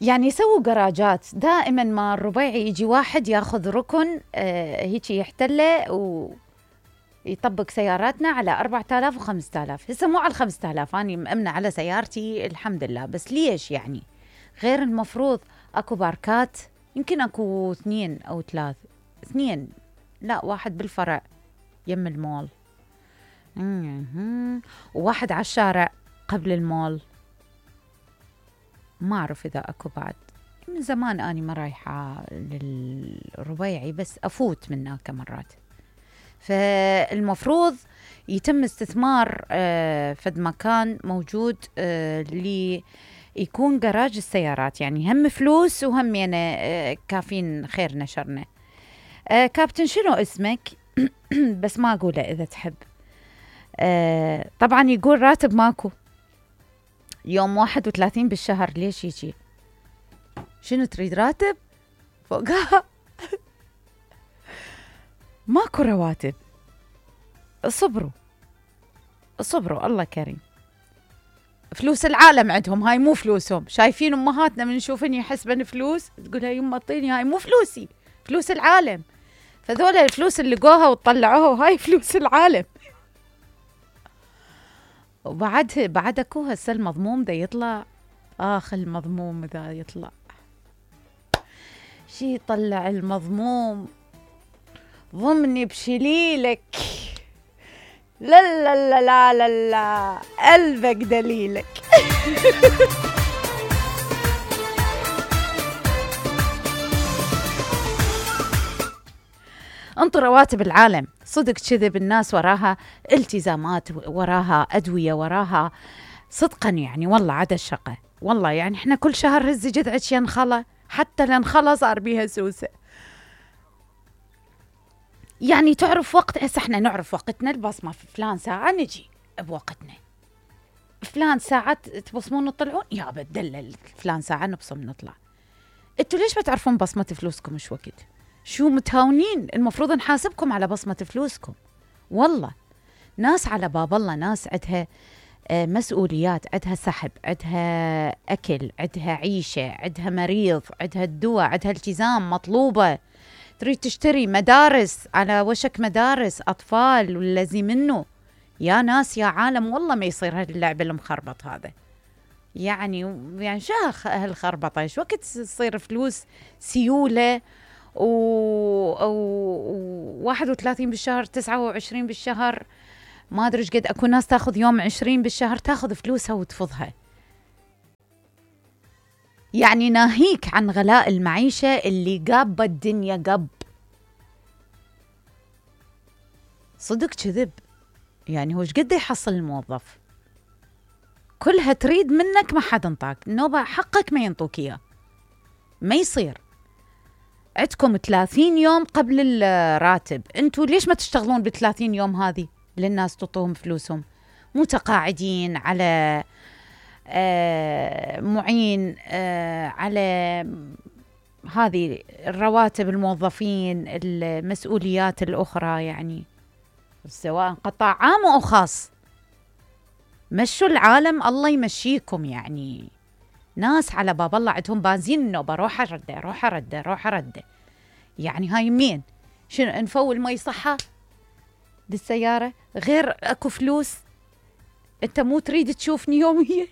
يعني سووا جراجات دائما، ما الربيعي يجي واحد ياخذ ركن هيك يحتله ويطبق سياراتنا على 4000 و5000. هسه مو على 5000، أنا مأمنة على سيارتي الحمد لله، بس ليش يعني غير المفروض أكو باركات، يمكن أكو 2 أو 3، 2 لا 1 بالفرع يم المول، وواحد على الشارع قبل المول. ما أعرف إذا أكو بعد، من زمان أني ما رايحة للربيعي، بس أفوت من هناك مرات. فالمفروض يتم استثمار فد مكان موجود اللي يكون جراج السيارات، يعني هم فلوس وهم يعني كافين خير نشرنا. كابتن شنو اسمك؟ بس ما أقوله إذا تحب. طبعا يقول راتب ماكو يوم 31 بالشهر. ليش يجي؟ شنو تريد راتب فوقها؟ ماكو رواتب. صبروا الله كريم. فلوس العالم عندهم، هاي مو فلوسهم. شايفين امهاتنا من نشوفن يحسبن فلوس، تقولها يما اعطيني، هاي مو فلوسي، فلوس العالم. فذولا الفلوس اللي لقوها وطلعوها هاي فلوس العالم. وبعد اكو هسه المضموم دا يطلع. المضموم دا يطلع شي، يطلع المضموم ضمني بشليلك. لا لا لا لا لا لا، قلبك دليلك. انطر رواتب العالم. صدق كذب، الناس وراها التزامات، وراها أدوية، وراها صدقا يعني والله عدا الشقة. والله يعني احنا كل شهر هزي جذعك ينخلى، حتى لنخلى صار بيها سوسة. يعني تعرف وقت، هسه احنا نعرف وقتنا، البصمة في فلان ساعة نجي بوقتنا، فلان ساعة تبصمون تطلعون، يا بدلل فلان ساعة نبصم نطلع. انتوا ليش ما تعرفون بصمة فلوسكم ايش وقت؟ شو متهاونين؟ المفروض نحاسبكم على بصمة فلوسكم. والله ناس على باب الله، ناس عندها مسؤوليات، عندها سحب، عندها أكل، عندها عيشة، عندها مريض، عندها الدواء، عندها التزام مطلوبة، تريد تشتري مدارس، على وشك مدارس أطفال والذي منه. يا ناس يا عالم، والله ما يصير هاللعب المخربط هذا. يعني شو هالخربطة؟ ايش وقت تصير فلوس سيولة و 31 بالشهر، 29 بالشهر، ما أدري إيش قد. أكو ناس تاخذ يوم 20 بالشهر، تاخذ فلوسها وتفضها. يعني ناهيك عن غلاء المعيشة اللي قاب الدنيا قب. صدق كذب. يعني هو إيش قد يحصل الموظف؟ كلها تريد منك، ما حد انطاك نوبة، حقك ما ينطوك إياه، ما يصير. عندكم 30 يوم قبل الراتب، انتوا ليش ما تشتغلون ب30 يوم هذه للناس تعطوهم فلوسهم؟ متقاعدين، على معين، على هذه الرواتب الموظفين، المسؤوليات الأخرى، يعني سواء قطاع عام أو خاص. مشوا العالم، الله يمشيكم. يعني ناس على باب الله عندهم بنزين النوبة، روح أرده. يعني هاي مين؟ شنو نفول مي صحة بالسيارة؟ غير أكو فلوس. أنت مو تريد تشوفني يوميا؟